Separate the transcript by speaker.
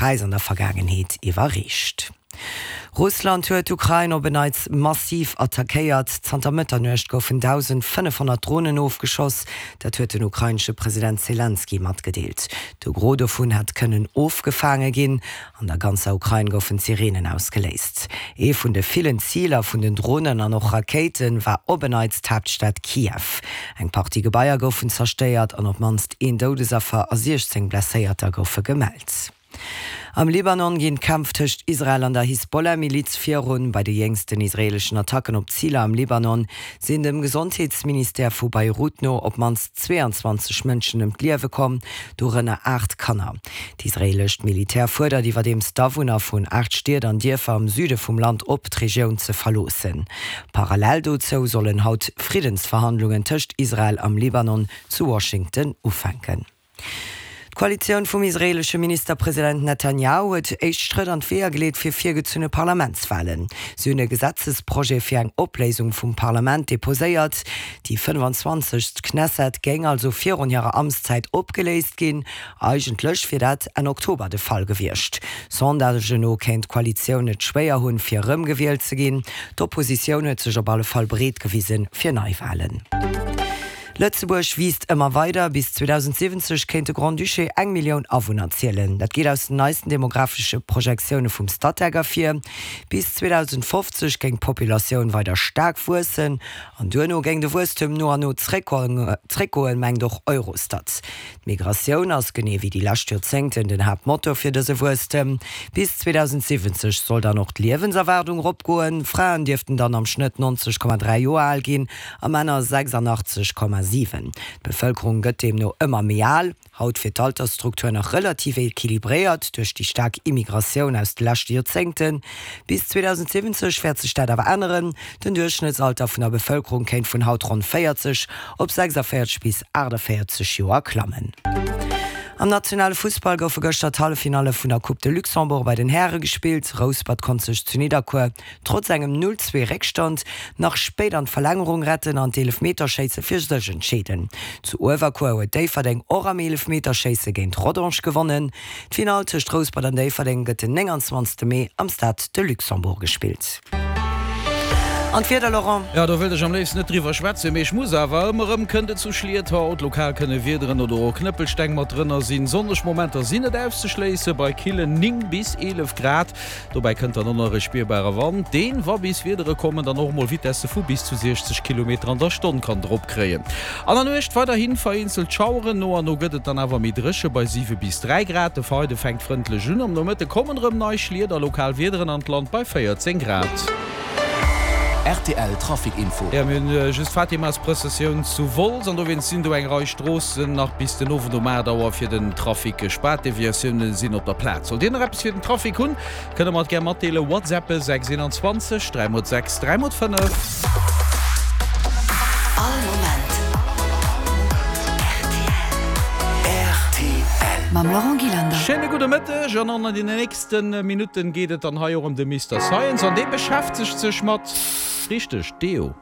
Speaker 1: Präis an der Vergaangenheet iwwerreecht. Russland huet d'Ukrain op en Neits massiv attackéiert. Zanter Mëtternuecht goufen 1.500 Dronen ofgeschoss. Dat huet den ukrainesche President Selenskyj matgedeelt. De Gros dovun hätt kënnen ofgefaange ginn. An der ganzer Ukrain goufen d'Sireenen ausgeléist. Ee vun de villen Ziler vun den Dronen an och Rakéite war op en Neits d'Haaptstad Kiew. Eng Partie Gebaier goufen zerstéiert an op d'mannst een Doudesaffer a 16 Blesséierter goufe gemellt. Am Libanon ginn d'Kämpf tëscht Israel an der Hisbollah-Miliz virun. Bei de jéngsten israeeleschen Attacken op Ziler am Libanon sinn dem Gesondheetsministère vu Beirut no op d'mannst 22 Mënschen ëm d'Liewe komm, dorënner 8 Kanner. D'israeelescht Militär fuerdert iwwerdeems d'Awunner vun 8 Stied an Dierfer am Süde vum Land op, d'Regioun ze verloossen. Parallel dozou sollen haut Friddensverhandlungen tëscht Israel am Libanon zu Washington ufänken. D'Koalitioun vum israeelesche Ministerpresident Netanjahu huet éischt Schrëtt an d'Weeër geleet fir virgezunne Parlamentswalen. Si hunn e Gesetzesprojet fir eng Opléisung vum Parlament deposéiert. Déi 25. Knesset géing also virun hirer Amtszäit opgeléist ginn. Eigentlech wier dat Enn Oktober de Fall gewiescht. Sondagen no kéint d'Koalitioun et schwéier hunn, fir erëmgewielt ze ginn. D'Oppositioun huet sech op alle Fall bereet gewisen fir Neiwalen. Lëtzebuerg wiisst ëmmer weider, bis 2070 kéint de Grand-Duché eng Millioun Awunner zielen. Dat geet aus den neisten demographesche Projektioune vum Statec ervir. Bis 2050 géing d'Populatioun weider staark wuessen an duerno géing de Wuesstem no an no zréckgoen, mengt och Eurostat. D'Migratioun ass, genee wéi déi lescht Joerzéngten, den Haaptmotor fir dëse Wuesstem. Bis 2070 soll dann och d'Liewenserwaardung eropgoen. Fraen dierften dann am Schnëtt 90,3 Joer al ginn a Männer 86,7. D'Bevëlkerung gëtt deemno ëmmer méi al. Haut wier d'Altersstruktur nach relativ equilibréiert duerch déi staark Immigratioun aus de leschte Joerzéngten. Bis 2070 wäert sech dat awer änneren. Den Duerchschnëttsalter vun der Bevëlkerung kéint vun haut ronn 40 op 46 bis 48 Joer klammen. Am nationale Fussball goufe gëschter d'Halleffinalle vun der Coupe de Luxembourg bei den Häre gespillt. Rouspert konnt sech zu Nidderkuer trotz engem 0, 2 Réckstand nach spéit an d'Verlängerung retten an d'Eelefmeterschéisse fir sech entscheeden. Zu Uewerkuer huet Déifferdeng och am Eelefmeterschéisse géint Rodange gewonnen. D'Finall tëscht Rouspert an Déifferdeng gëtt den 29 Mee am Stade de Luxembourg gespillt. An d'Wieder, Laurent?
Speaker 2: Jo, do wëllt ech am léifsten net driwwer schwätzen, mee ech muss awer. Ëmmer erëm kënnt et zu Schliet haut. Lokal kënne Wiederen oder och Knëppelsteng mat drënner sinn. Sonneg Momenter sinn net auszeschléissen, bei killen 9 bis 11 Grad. Dobäi kënnt dann och nach e spierbare Wand, deen, wa bis Wiedere kommen, dann och emol Vitesse vu bis zu 60 Kilometer an der Stonn kann drop kréien. An der Nuecht weiderhi vereenzelt Schaueren, no an no gëtt et dann awer méi dréche bei 7 bis 3 Grad. De Freide fänkt frëndlech un, am Nomëtte kommen erëm nei Schliet a lokal Wiederen an d'Land bei 14 Grad.
Speaker 3: Rtl Trafic Info.
Speaker 2: Jo, mir hunn just d'Fatimasprëssessioun zu Wolz an dowéinst sinn do eng Rei Stroossen nach bis den Owend um 8 Auer fir den Trafic gespaart. Deviatioune sinn op der Plaz. Sollt Dir nach eppes fir den Trafic hunn, kënnt der mer et gär matdeelen. Whatsappe 6 21 3 x 6 3 x 5.
Speaker 4: All Moment
Speaker 3: rtl.
Speaker 4: Mam Laurent Gillander.
Speaker 2: Schéine gudde Mëtteg an an den nächste Minutten geet et dann hei och ëm de Mister Science an dee beschäftegt sech mat, richteg, Deo.